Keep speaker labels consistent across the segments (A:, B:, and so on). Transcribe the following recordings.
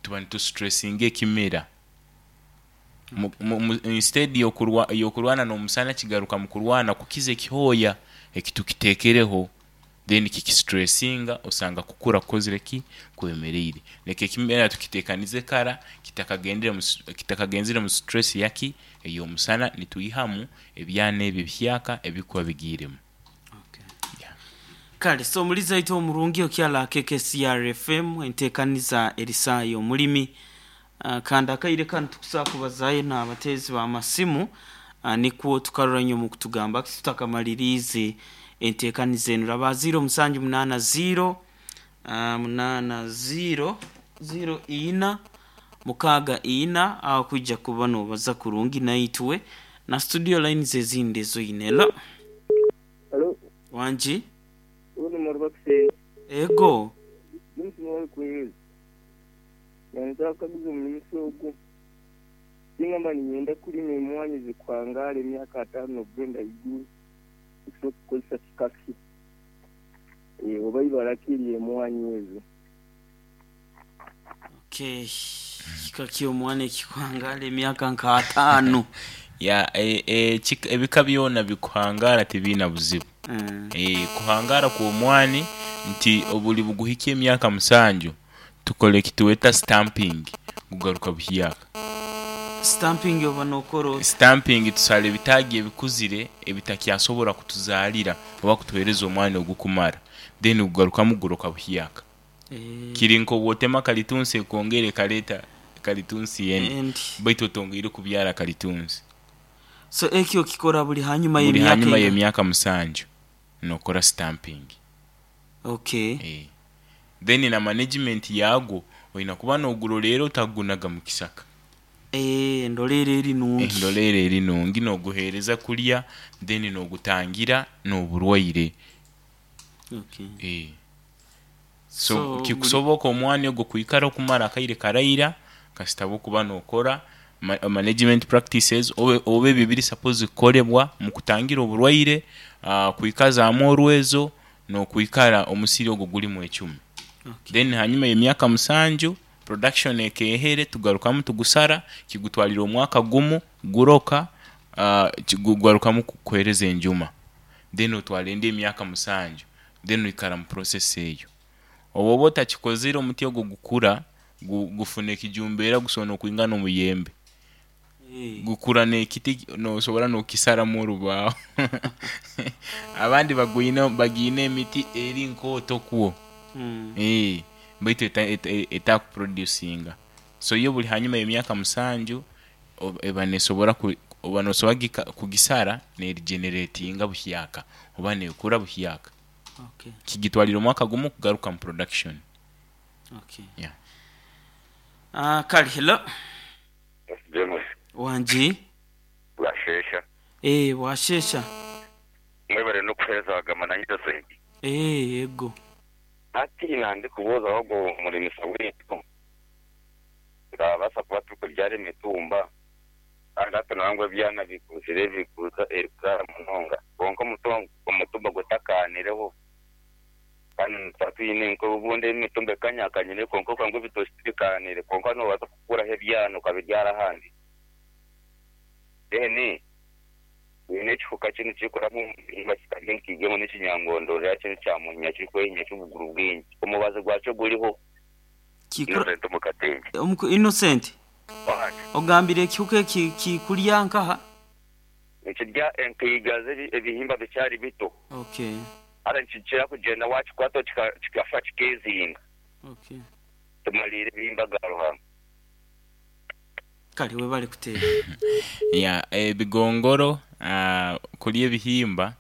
A: Tuba nitustressinga ekimera. Instead y'okurwana n'omusana kigaruka mu kurwana kukiza ekihooya ekitukiteekereho, then kikistressinga osanga kukura kukozire ki? Kwemereire. Leka ekimera tukiteekanize kara kitakagendere mu stress yaki? Ey'omusana, nitwihamu ebyana ebi ebihyaka ebikuba bigiiremu.
B: Okay.
A: Yeah.
B: Kale so omulizi aitu omurungi okyala KKCR FM entekaniza eri saaha y'omulimi kandi akaire kanu tukusobola kubazaayo n'abateezi b'amasimu nikwo tukarora nyo mukutugamba ki tutakamaliriize entekaniza enu. Raba 0 musanju munaana 0 munaana 0 0 ina mukaaga ina aho kwija kuba nobaza kurungi naitwe na studio lines ezindi ezoine. Hello.
C: Halo,
B: Wangi?
C: Uno Maruba Kisenyi.
B: Ego.
C: James Mwali Queens. Nanza kukaguza omulimisa ogu. Singa mba niinyenda kulima emwaani ezikuhangaara emyaka ataano okugenda haiguru, nkusobola kukozesa kika ki? Oba ibara ki ery'emwaani ezo?
B: Okay, kika ky'omwana ekikuhangaara emyaka nka ataano.
A: Ya, ebika byona bikuhangaara tibiina buzibu. Kuhangaara kw'omwani nti obuli buguhikya emyaka musanju, tukora ekitweta stamping gugaruka buhyaka.
B: Stamping oba nokora ota?
A: Stamping tusala ebitaagi ebikuzire ebitakyasobora kutuzaalira oba kutuhereza omwani ogukumara then gugarukamu guroka buhyaka. Kiri nk'obwotema kalitunsi ekongera ekaleta kalitunsi endi
B: Endi.
A: baitu otongeire kubyara kalitunsi.
B: So ekyo okikora buli hanyuma
A: Buli
B: y'emyaka
A: hanyuma
B: enga?
A: y'emyaka musanju nokora stamping.
B: Okay.
A: Then na management yaagwo oina kuba noguroleera otagunaga mu kisaka.
B: Endoleera eri nungi.
A: Endoleera eri nungi noguheereza kulya then nogutangira n'oburwaire.
B: Okay.
A: So
B: So buli
A: kikusoboka omwani ogwo kwikara okumara akaire karaira kasita bwokuba nokora management practices oba ebyo ebiri supposed kukolebwa mukutangira oburwaire, kwikazaamu orwezo, n'okwikara omusiri ogwo gulimu ecumi.
B: Okay.
A: Then hanyuma y'emyaka musanju production ekeehere tugarukamu tugusara kigutwalira omwaka gumu guroka, gugarukamu kukuhereza enjuma then otwara endi emyaka musanju then oikara mu process eyo. Obwoba otakikozire omuti ogwo gukura gufuna ekijumbeera gusobola n'okwingana omuyembe. Gukura n'ekiti nosobora n'okukisaramu orubaaho. Abandi bagiine emiti eri nkooto kwo, baitu etakuproducinga. So yo buli hanyuma y'emyaka musanju eba nesobora oba nosobora kugisara nerigeneratinga buhyaka oba nekura buhyaka.
B: Okay.
A: Kigitwalira omwaka gumu kugaruka mu production.
B: Okay.
A: Yeah.
B: Kale hello.
D: James.
B: Wangi.
D: Bwasheesha.
B: Eeh bwasheesha.
D: Mwebare n'okuheereza Wagama na Innocent.
B: Eeh yego.
D: Hati nandikubuuzaho ogwo murimisa waitu, turabaasa kuba turikubyara emitumba kandi hati nangwa ebyana bikuzire bikuza erikuzaara munonga kwonka omutumba gutakaanireho kandi nituba twine nk'obundi emitumba ekanyakanyire kwonka okanga ebitookye tibikaanire kwonka noobaasa kukuraho ebyana okabibyara ahandi. Then twine ekihuka kinu kirikuraaba omu bihingwa kikarya enkaige ngu n'ekinyangondorera kinu kya munya kirikwehinya ky'obuguru bwingi. Omubazi gwakyo guriho.
B: Kikura
D: Innocent omu Katenge.
B: Omuku Innocent,
D: Wani?
B: ogambire ekihuka eki kikurya nkaha?
D: Nikirya enkaiga z'ebihimba bikyari bito.
B: Okay.
D: Haza nikikira kugyenda waakikwataho kikafa kikeezinga.
B: Okay.
D: Tumariire ebihimba ga Ruhanga.
B: Kale webale kuteeba.
A: Ya, ebigongoro kulya ebihimba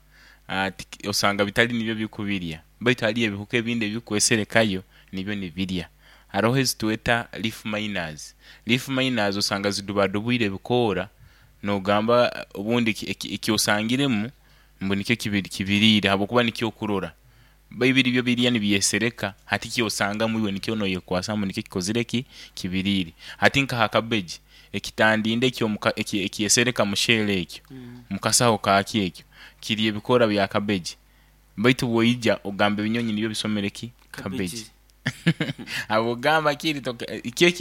A: osanga bitali nibyo bikubirya baitu haliyo ebihuka ebindi ebikweserekayo nibyo nibirya. Haroho ezitweta leaf miners. Leaf miners osanga zidubadubwire ebikoora nogamba obundi ekyosangiremu mbu nikyo kibiriire habwokuba nikyo okurora. Baitu byo birya nibyesereka hati kyosangamu iwe nikyo noyekwasa mbu nikyo kikozire ki? Kibiriire. Hati nka ha cabbage, ekitandinda ekyo ekyesereka mu shell ekyo, mu kasaho kaakyo ekyo, kirya ebikoora bya cabbage. Baitu bwoija ogamba ebinyonyi nibyo bisomere ki? Cabbage. Habwokugamba kiri kyo kiri.